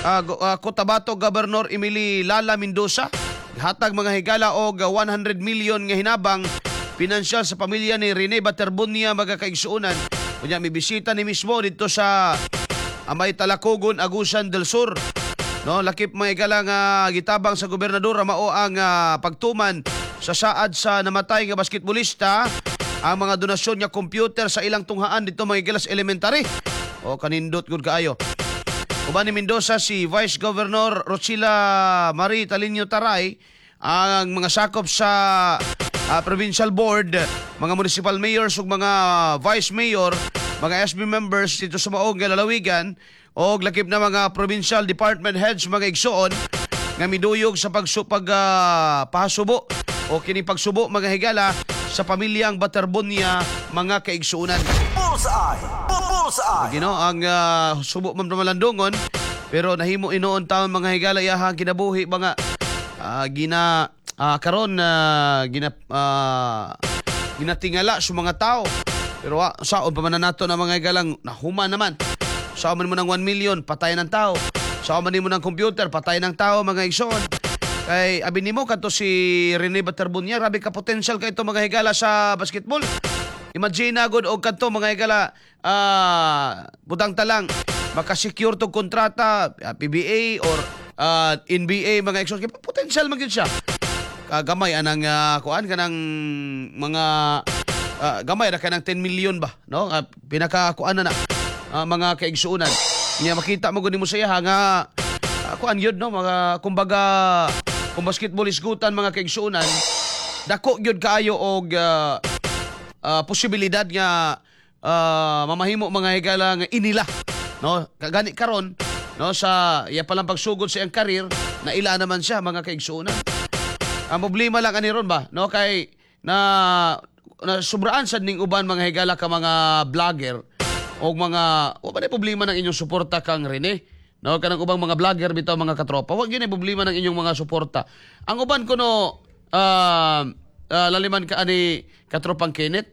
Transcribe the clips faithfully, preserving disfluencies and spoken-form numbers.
uh, uh, Cotabato Governor Emily Lala Mendoza hatag, mga higala, og uh, one hundred million nga hinabang pinansyal sa pamilya ni Rene Baterbonia, mga kaigsuonan. Unya mi bisita ni mismo dito sa Amay Talacogon, Agusan del Sur. No, lakip, mga higala, nga gitabang sa gobernador mao ang ah, pagtuman sa saad sa namatay nga basketbolista, ang mga donasyon nga computer sa ilang tunghaan dito, mga higala, sa elementary. O kanindot gud kaayo. Uban ni Mendoza si Vice Governor Rochila Marie Talinio Taray, ang mga sakop sa ah, provincial board, mga municipal mayors ug mga vice mayor, mga S B members dito sa maong lalawigan og lakip na mga provincial department heads, mga igsuon, nga miduyog sa pagsupag uh, pahasubo o kini pagsubo, mga higala, sa pamilyang Baterbonia, mga kaigsuonan. Bullseye! Bullseye! Gino ang ah, subo man malandungon pero nahimo inoon taon, mga higala, iyahang kinabuhi mga ah, gina ah, karon ah, gina ah, ginatingala sa mga tao, pero ah, saon pa man na nato na, mga higalang, nahuman naman. Saon man mo ng one million, patay ng tao. Saon man nimo ng computer, patay ng tao, mga igsoon. Kay abi nimo kadto si Rene Baterbonia, grabe ka potential kay ito, mga higala, sa basketball. Imagine na gud og kadto, mga higala, ah butang talang makasecure tog kontrata ah, P B A or ah, N B A, mga igsoon, kay potential man gyud siya. Kagamay anang uh, kuan kanang mga ah, gamay ra kanang ten million ba, no? Uh, pinaka kuan na na ah, mga kaigsuonan. Nya makita mo gud nimo sa iya nga uh, kuan yun, no, mga kumbaga kung basketball isgutan, mga kaigsuonan, dako gyud kaayo og ah, ah, posibilidad nga ah, mamahimo, mga higala, nga inila, no? Kagani karon, no, sa iya palang pagsugod sa iyang career, na ila naman siya, mga kaigsuonan. Ang problema lang ani ron ba, no, kay na na sobraan sad ning uban, mga higala, ka mga vlogger o mga wa ba na problema ng inyong suporta kang Rene, no? Kanang ubang mga vlogger bitaw, mga katropa, wa gyud problema ng inyong mga suporta. Ang uban kuno uh, uh, laliman ka ani katropang Kenneth,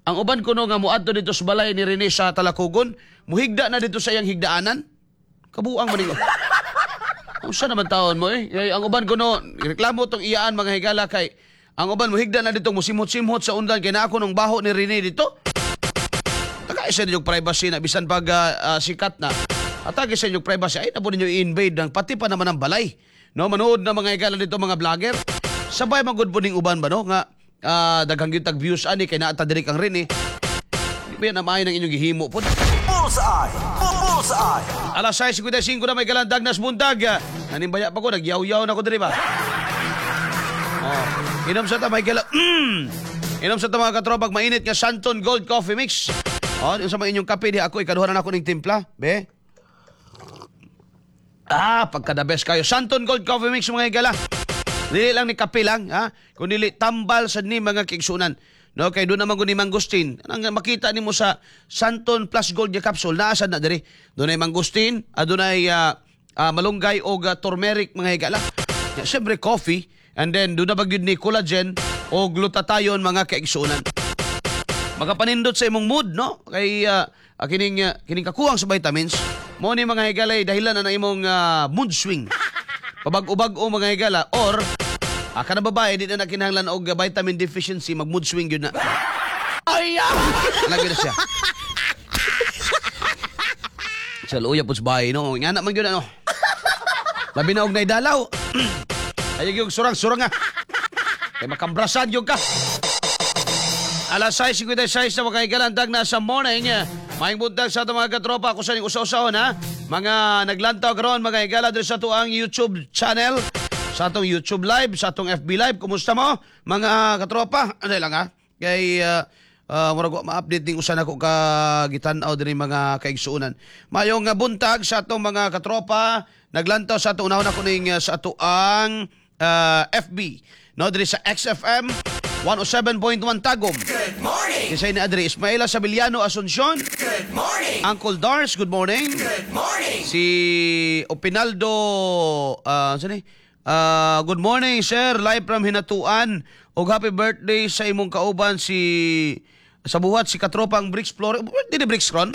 ang uban kuno nga muadto dito sa balay ni Rene sa Talacogon, muhigda na dito sa iyang higdaanan. Kabuang man ninyo. Unsa naman taon mo eh? Kay ang uban kuno reklamo tong iyaan, mga higala, kay ang uban muhigda na dito, musimhot-simhot sa undan kay naa nung baho ni Rene dito. Tagay sa inyong privacy na bisan pag ah, ah, sikat na. Atagi sa inyong privacy ay na po ninyo i-invade ng pati pa naman ang balay. No, manood na, mga higala, dito mga vlogger. Sabay magud po ning uban ba, no, nga ah, daghang gyud tag views ani kay naa ta diri kang Rene. Di ba yan ang maayo ng inyong gihimo po? Bullseye! Bullseye! Alas sais singkwenta y singko na may galandag nas buntag. Nanimbaya pa ko, nagyaw-yaw na ko diri ba? Oh. Inom sa ta may gala. Mm. Inom sa ta, mga katropag, mainit nga Santon Gold Coffee Mix. Oh, yung sa mga inyong kape di ako ikaduha na nako ning timpla, be. Ah, pagka the best kayo. Santon Gold Coffee Mix, mga higala. Dili lang ni kape lang, ha? Kung dili tambal sa ni, mga kaigsuonan. No, kay doon naman ni mangosteen. Anang makita nimo sa Santon Plus Gold nga capsule, naa sad na diri. Dunay mangosteen, adunay uh, uh, malunggay og uh, turmeric, mga higala. Ya, siyempre coffee and then doon na ba gyud ni collagen o glutathione, mga kaigsuonan. Makapanindot sa imong mood, no? Kay uh, kining uh, kining kakuwang sa vitamins mo ni, mga higala, ay dahilan na ng imong uh, mood swing. Pabag-ubag o, mga higala, or uh, kanang babae di na nakinahanglan og uh, vitamin deficiency, mag mood swing gyud na. Ay, ah! Lagi na siya. Sa luya po sa bahay, no? Nga na man gyud ano. Labi na og naidalaw. Ay yung surang-surang nga. Kay makambrasan yung ka. Alas sais singkwenta y sais na, mga kahigalandag na sa morning. Maayong buntag sa atong mga katropa. Ako sa ning usa-usahon ha. Mga naglantaw karon, mga higala, diri sa atoang YouTube channel. Sa atong YouTube live, sa atong F B live. Kumusta mo, mga katropa? Ano lang ha? Kay uh, uh, murag wa ma-update ning usa nako ka gitan-aw diri, mga kaigsuonan. Mayong uh, buntag sa atong mga katropa. Naglantaw sa atong unahon ako ning uh, sa atoang uh, F B. No, diri sa X F M one oh seven point one Tagum. Good morning! Kisay ni Adri Ismaela Sabiliano Asuncion. Good morning! Uncle Dars, good morning. Good morning! Si Opinaldo, uh, saan eh? Ah, good morning, sir. Live from Hinatuan. Og happy birthday sa imong kauban si sa buhat si Katropang Bricks Flores. Birthday ni Bricks ron?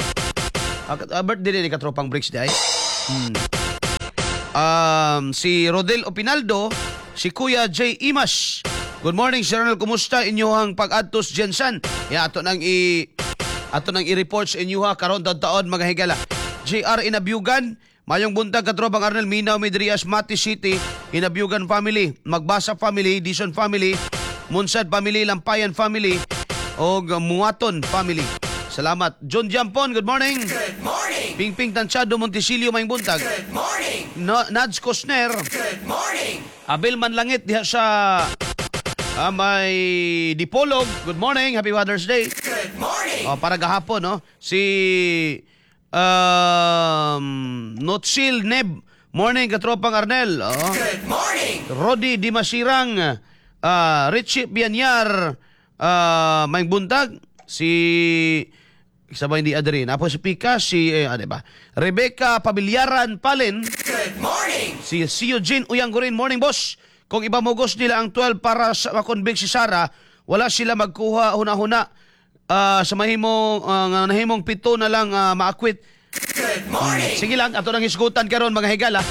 Ah, birthday ni Katropang Bricks di ay. Hmm. Um, si Rodel Opinaldo, si Kuya J. Imas. Good morning, Sir Arnel. Kumusta inyuhang pag-adtos GenSan? Ya, ato nang i ato nang i-report sa inyo ha karon taon mga higala. J R Inabyugan, mayong buntag, katropang Arnel. Minaw mi diri sa Mati City, Inabyugan family, Magbasa family, Dison family, Munsad family, Lampayan family, og Muaton family. Salamat. John Jampon, good morning. Good morning. Pingping Tanchado Montesilio, mayong buntag. Good morning. No, Nads Cosner, Good morning. Abel Manlangit diha sa ah, may Dipolog. Good morning, happy Father's Day. Good morning. Oh, para gahapon, no? Si um, Notsil Neb. Morning, katropang Arnel. Oh. Good morning. Rodi Dimasirang, uh, Richie Bianyar, uh, may buntag, si isa ba hindi adrin? Apo si Pika, si, eh, ano ba? Rebecca Pabilyaran Palin, Good morning. si si Eugene Uyanggurin, "Morning, boss. Kung ibamugos nila ang twelve para sa makonvict si Sara, wala sila magkuha huna-huna. Ah, sa mahimong ah, nga nahimong pito na lang uh, ma-acquit." Good morning. Sige lang, ato nang hisgutan karon, mga higala.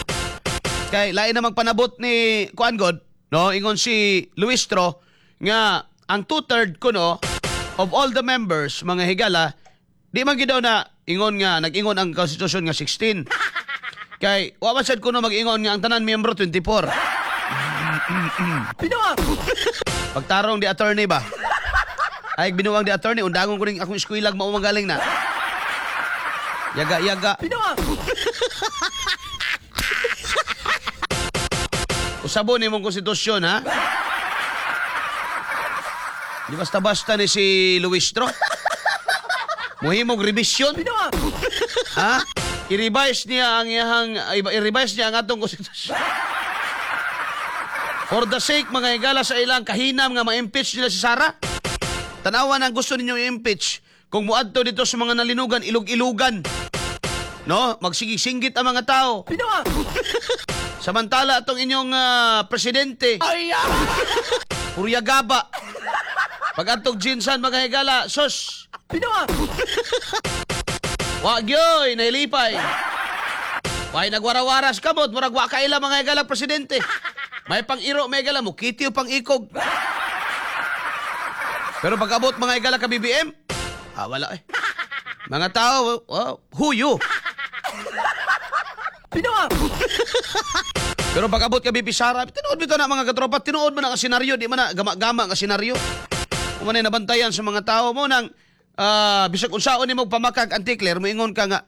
Kay lain namang panabot ni Kuan God, no? Ingon si Luistro nga ang two-third kuno of all the members, mga higala, di man gid daw na ingon nga nag-ingon ang konstitusyon nga sixteen. Kay wa man sad kuno mag-ingon nga ang tanan miyembro twenty-four. Pagtarong di attorney ba? Ay binuang di attorney, undangon ko ning akong eskwilag mao magaling na. Yaga yaga. Usabon nimong konstitusyon, ha? Di basta-basta ni si Luistro. Muhimog revision. Ha? I-revise niya ang iyahang i-revise niya ang atong konstitusyon. For the sake, mga higala, sa ilang kahinam nga ma-impeach nila si Sara. Tanawan ang gusto ninyo i-impeach. Kung muadto dito sa mga nalinugan, ilog-ilugan. No? Magsigi-singgit ang mga tao. Samantala atong inyong ah, presidente. Ay! Purya gaba. Pag atong GenSan, mga higala, sus! Wa gyoy, nahilipay. Way nagwarawaras kamot, murag wa kaila, mga higala, presidente. May pang-iro, mga higala, mukiti o pang-ikog. Pero pag abot, mga higala, ka B B M, ah, wala eh. Mga tao, oh, who you? Pero pag abot ka V P Sara, tinuod bitaw na, mga katropa, tinuod man ang senaryo, di man na gama-gama nga senaryo. Kung man nabantayan sa mga tao mo nang ah, bisag unsaon nimo pamakag anti-clear, moingon ka nga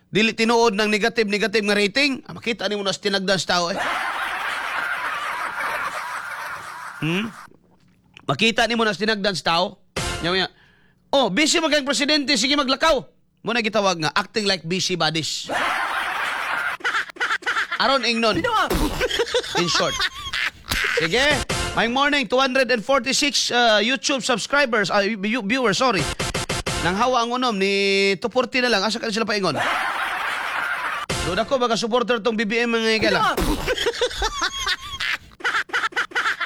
dili tinuod ng negative negative nga rating, ah, makita nimo na sa tinagdan sa tao eh. Hmm? Makita nimo na sa tinagdan sa tao. Nya nya. Oh, busy man kang presidente, sige maglakaw. Mo na gitawag nga acting like busy bodies. Aron ingnon. In short. Sige. May morning, two hundred forty-six uh, YouTube subscribers, uh, viewers, sorry. Nang hawa ang unom ni two forty na lang. Asa ka sila paingon? Doon ako, baga supporter tong B B M, mga higala.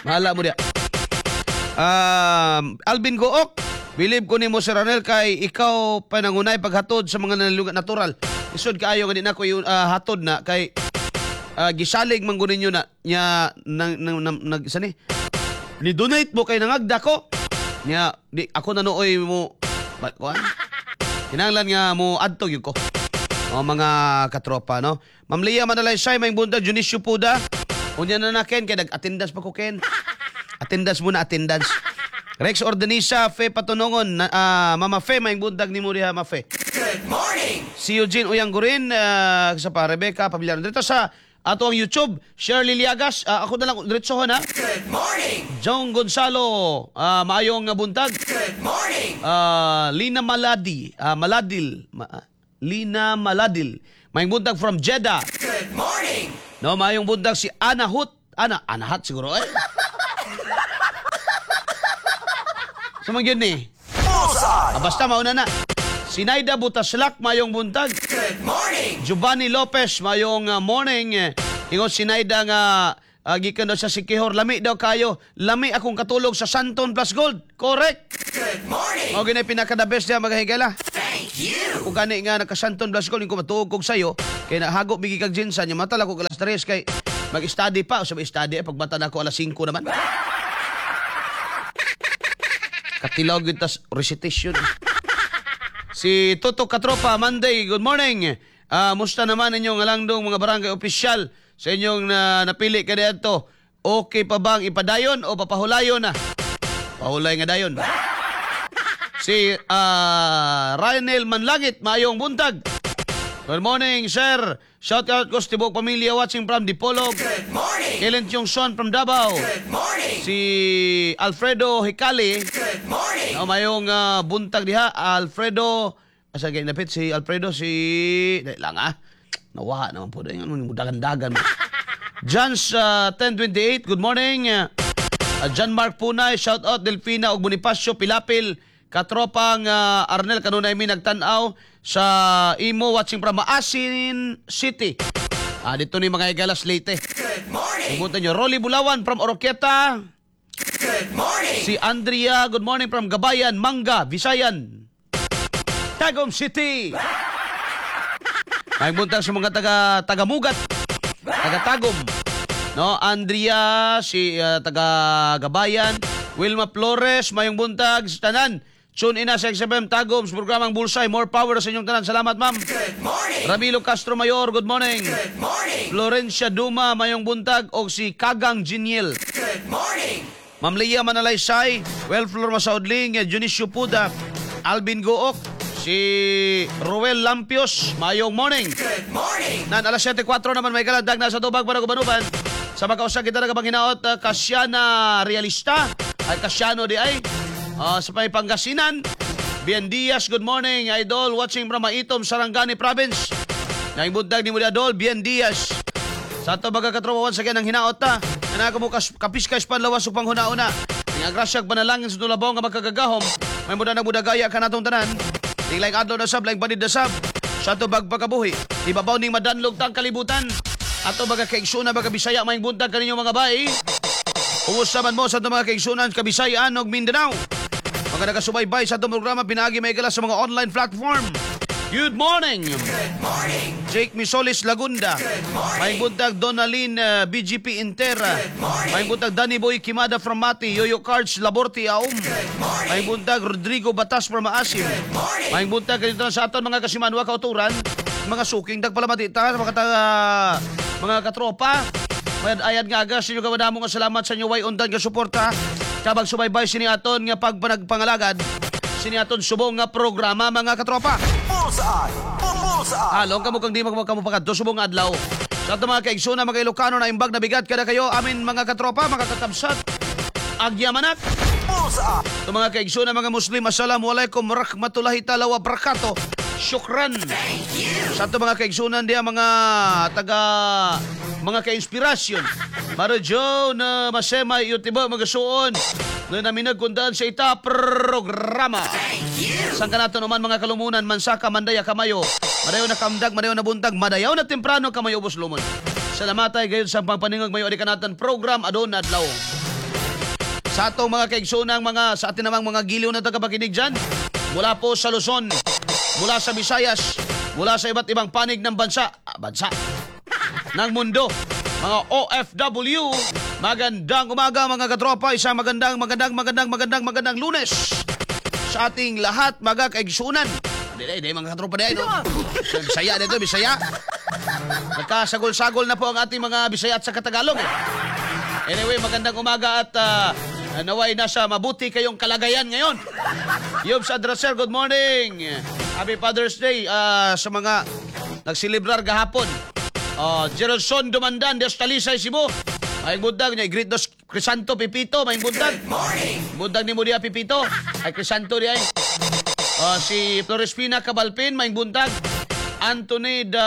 Mahala mo diya. Um, Alvin Gook, believe ko nimo, Sir Arnel, kay ikaw panangunay paghatod sa mga nalilugan natural. Isod kaayo nga di na ko yung ah, hatod na kay uh, gisalig man gud ninyo na nya nang, nang, nang, nag sani ni donate mo kay nangagda ko nya di ako na nooy mo ba, kuan kinahanglan nga mo adto gyud ko. O mga katropa, no? Ma'am Leah Manalaysay, may buntag. Dionisio Puda. Unya na na Ken, kay nag-attendance pa ko, Ken. Attendance muna, attendance. Rex Ordanisa, Fe Patunongon, na, ah, Mama Fe, may buntag nimo diha, Ma Fe. Good morning. Si Eugene Uyanggurin, uh, sa pa Rebecca Pabiliano. Dito sa ato ang YouTube, Shirley Liagas, ah, ako na lang diretso ha. Good morning. John Gonzalo, ah, maayong buntag. Good morning. Ah, Lina Maladi, ah, Maladil, Ma- ah, Lina Maladil. Maayong buntag from Jeddah. Good morning. No, maayong buntag si Ana Hut. Ana, Ana Hut siguro eh. Sa mga yun ni. Bullseye. Ah, basta mauna na. Sinaida Butaslak, mayong buntag. Good morning. Giovanni Lopez, mayong uh, morning. Ingon Sinaida nga uh, gikan daw sa Siquijor, lami daw kayo. Lami akong katulog sa Santon Plus Gold. Correct. Good morning. Mao gini pinaka the best diya, mga higala. Thank you. you. Kung gani nga nakasanton blas ko ko matuog kog sayo kay nahago bigi kag GenSan nya mata lang ko alas tres kay mag-study pa sa study eh, pagbata na ako alas singko naman. Katilaw gyud tas recitation. Si Toto Katropa, Monday, good morning. Ah, musta naman inyong alangdong mga barangay opisyal sa inyong na, napili kaniadto? Okay pa bang ipadayon o papahulayon na? Pahulay nga dayon. Si ah, Ryanel Manlangit, maayong buntag. Good morning, sir. Shout out ko sa tibok pamilya watching from Dipolog. Good morning. Kellen Tiongson from Davao. Good morning. Si Alfredo Hicali. Good morning. No, mayong ah, buntag diha, Alfredo. Asa gay napit si Alfredo si dali lang ah. Nawaha naman po dahil ano dagan-dagan mo. Jans ah, ten twenty-eight, good morning. Uh, John Mark Punay, shout out Delfina ug Bonifacio Pilapil, katropang ah, Arnel, kanunay mi nagtan-aw sa imo, watching from Maasin City. Ah, dito ni mga igalas Leyte. Good morning. Pumunta nyo, Rolly Bulawan from Oroquieta. Good morning. Si Andrea, good morning from Gabayan, Manga, Visayan. Tagum City. May buntag sa mga taga Tagamugat, taga Tagum. No, Andrea, si uh, taga Gabayan, Wilma Flores, mayong buntag sa tanan. Tune in na sa X F M Tagum sa programang Bullseye. More power sa inyong tanan. Salamat, ma'am. Good morning. Ramilo Castro Mayor, good morning. Good morning. Florencia Duma, mayong buntag. O si Kagang Giniel. Good morning. Ma'am Leah Manalaysay, Welflor Masaudling, Junicio Puda, Alvin Gook, si Ruel Lampios, mayong morning. Good morning. Nan alas siyete kuwatro naman may kalandag na sa tubag para gubanuban. Sa makausag kita nagapanginaot, uh, Kasiana Realista, ay Kasiano di ay, uh, sa may Pangasinan. Bien Diaz, good morning, idol, watching from Maitom, Sarangani Province. Naing buntag ni mo di, idol, Bien Diaz. Sa ato mga katropa, once again, ang hinaot ta. Na mo kas, kapiskas panlawas upang huna-una. Ang agrasyag panalangin sa tulabong nga makagagahom. May muda na budagaya ka natong tanan. Tinglaing adlaw na sab, laing panid na sab. Sa ato bagpakabuhi. Ibabaw ning madanlog tang kalibutan. Ato mga kaigsunan, mga Bisaya, may buntag kaninyo mga bay. Kumusta man mo sa ato mga kaigsunan, Kabisayaan ug Mindanao? Mga nagasubaybay sa atong programa pinaagi may sa mga online platform. Good morning! Good morning. Jake Misolis Lagunda. May buntag Donalyn uh, B G P Intera. May buntag Danny Boy Kimada from Mati. Yoyo Cards Laborte Aum. May buntag Rodrigo Batas from Maasim. May buntag ganito na sa aton mga kasimanwa kauturan. Mga suking tagpalamati ta mga taga, mga katropa. Mayad ayad nga agas inyo kawadamo nga salamat sa inyo way undan nga suporta. Kabag subaybay sini aton nga pagpanagpangalagad sini aton subong nga programa, mga katropa. Bullseye. Bullseye. Halong kamo kang di magkamo pakadto subong adlaw. Sa ato mga kaigsoona, mga Ilocano na imbag na bigat kada kayo amin mga katropa, mga kakabsat. Agyamanak. Bullseye. Ito mga kaigsoona, mga Muslim, assalamualaikum warahmatullahi taala wabarakatuh. Syukran. Sa ato mga kaigsunan diya mga taga mga ka-inspirasyon. Maro Joe na masema iyo tiba magasuon na namin nagkundaan sa ita programa. Saan ka nato naman mga kalumunan, mansaka, mandaya, kamayo. Madayaw na kamdag, madayaw na buntag, madayaw na temprano, kamayo ubos lumon. Salamat ay gayon sa pangpaningog mayo adi kanatan program adon adlaw. Sa atong mga kaigsoonang mga sa atin namang mga giliw na tagapakinig dyan, mula po sa Luzon, mula sa Visayas, mula sa iba't ibang panig ng bansa, ah, bansa, ng mundo, mga O F W, magandang umaga, mga katropa, isang magandang, magandang, magandang, magandang, magandang Lunes sa ating lahat, mga kaigsunan. Hindi, hindi, mga katropa di ay, no? Bisaya dito, Bisaya. Nagkasagol-sagol na po ang ating mga Bisaya at sa Katagalog. Eh. Anyway, magandang umaga at ah, naway nasa mabuti kayong kalagayan ngayon. Yobs Adraser, good morning. Happy Father's Day ah, sa mga nagsilibrar gahapon. Uh, Geraldson Dumandan, Des Talisay, Cebu. May buntag niya, greet dos Crisanto Pipito, may buntag. Morning. Buntag ni mo diya Pipito. Ay Crisanto di ay. Ah, si Florespina Cabalpin, may buntag. Anthony da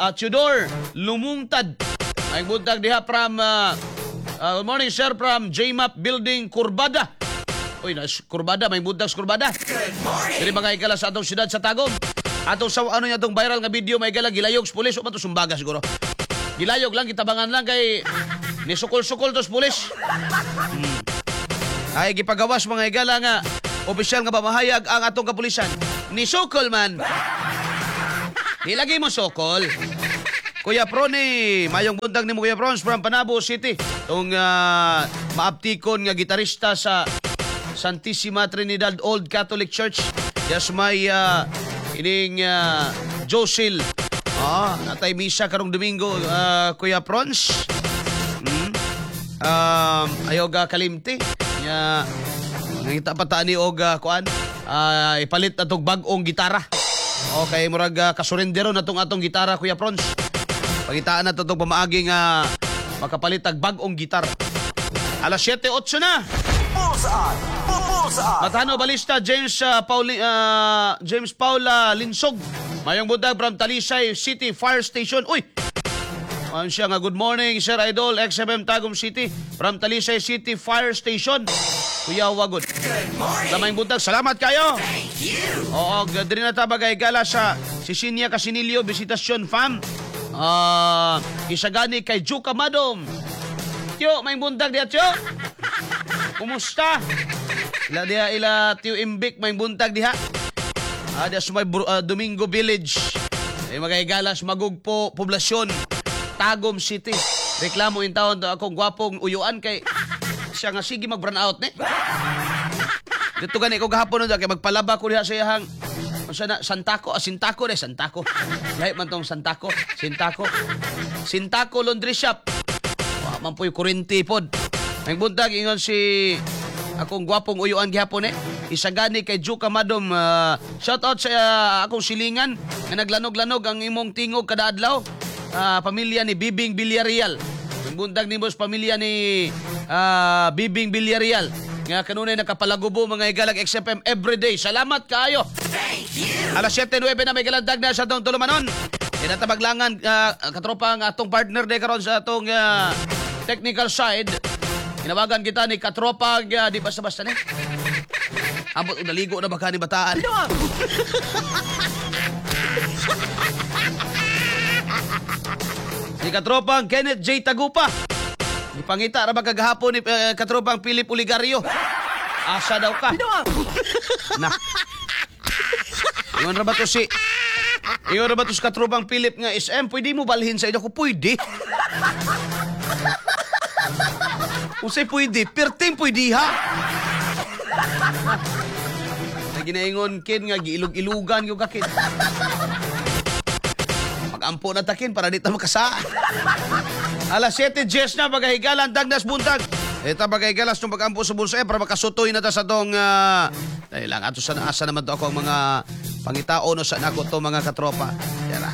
uh, Tudor Lumungtad. May buntag diha from ah, ah, good morning, sir, from J M A P Building Kurbada. Uy, nas Kurbada, may buntag sa Kurbada. Good morning. Diri mga ikala sa atong syudad sa Tagum. Atong sa ano niya atong viral nga video may gala gilayog sa pulis o man to sumbaga siguro. Gilayog lang, gitabangan lang kay nisukol-sukol to sa pulis. Hmm. Ay gipagawas, mga igala, nga opisyal nga pamahayag ang atong kapulisan. Ni sukol man. Di lagi mo sukol. Kuya Prony, mayong buntag nimo, Kuya Prons, from Panabo City. Tong uh, maaptikon nga gitarista sa Santissima Trinidad Old Catholic Church. Yes, may uh, ining uh, Josil. Ah, natay misa karong Domingo, uh, Kuya Prons. Hmm. Um, ayaw ga kalimti. Nya nangita pa ta ni og uh, kuan, uh, ipalit atong bag-ong gitara. Okay, murag uh, kasurendero na tong atong gitara, Kuya Prons. Pangitaan na to itong pamaagi nga makapalit og bag-ong gitar. Alas siyete otso na. Bullseye. Bullseye. Matano Balista James uh, Pauli, uh, James Paula Linsog. Mayong buntag from Talisay City Fire Station. Uy. Ano siya nga, "Good morning, Sir Idol X F M Tagum City from Talisay City Fire Station." Kuya Wagod. Lamay buntag, salamat kayo. Oo, diri na ta bagay gala sa Sisinia Casinillo Visitasyon Fam. Ah, isagani kay Juka Madom. Tiyo, may buntag diya, Tiyo. Kumusta? Ila diha ila Tiyo Imbik, may buntag diha. Ah, diha sa may Bru- ah, Domingo Village. Ay magahigalas Magugpo Poblasyon, Tagum City. Reklamo in taon to akong gwapong uyuan kay siya nga sige mag brown out ni. Dito gani ko gahapon no kay magpalaba ko diha sa iyahang unsa na Santako, ah, Sintako de Santako. Lahi man tong Santako, Sintako. Sintako Laundry Shop. Wa man po'y kuryente pod. May buntag ingon si akong gwapong uyuan gihapon eh. Isagani kay Juka Madom. Uh, shout out sa ah, akong silingan nga naglanog-lanog ang imong tingog kada adlaw. Ah, pamilya ni Bibing Villarreal. May buntag ni boss pamilya ni ah, Bibing Villarreal. Nga kanunay nakapalagubo, mga higalag, X F M everyday. Salamat kaayo. Alas siyete nuwebe na may galandag na sa atong tulumanon. Kinatabaglangan uh, katropa ang atong partner de karon sa atong ah, technical side. Tinawagan kita ni katropa, uh, di basta-basta ni. Ambot og naligo na baka ni bataan. Si katropang Kenneth J. Tagupa. Ipangita ra ba kagahapon ni uh, katropang Philip Oligario. Asa daw ka? Na. Ingon ra ba to si Ingon ra ba to si katropang Philip nga S M, pwede mo balhin sa inyo ko pwede. Unsay pwede? Perting pwede ha. Na ginaingon kin nga giilog-ilugan gyud ka kin. Magampo na takin para di ta makasa. Alas siyete diyes na pagahigalan dagnas buntag. Eta pagahigalas nung pagampo sa bulsa eh, para makasutoy na ta sa tong uh, dahil lang ato sa asa naman to ako ang mga pangitao no sa nako to mga katropa. Tara.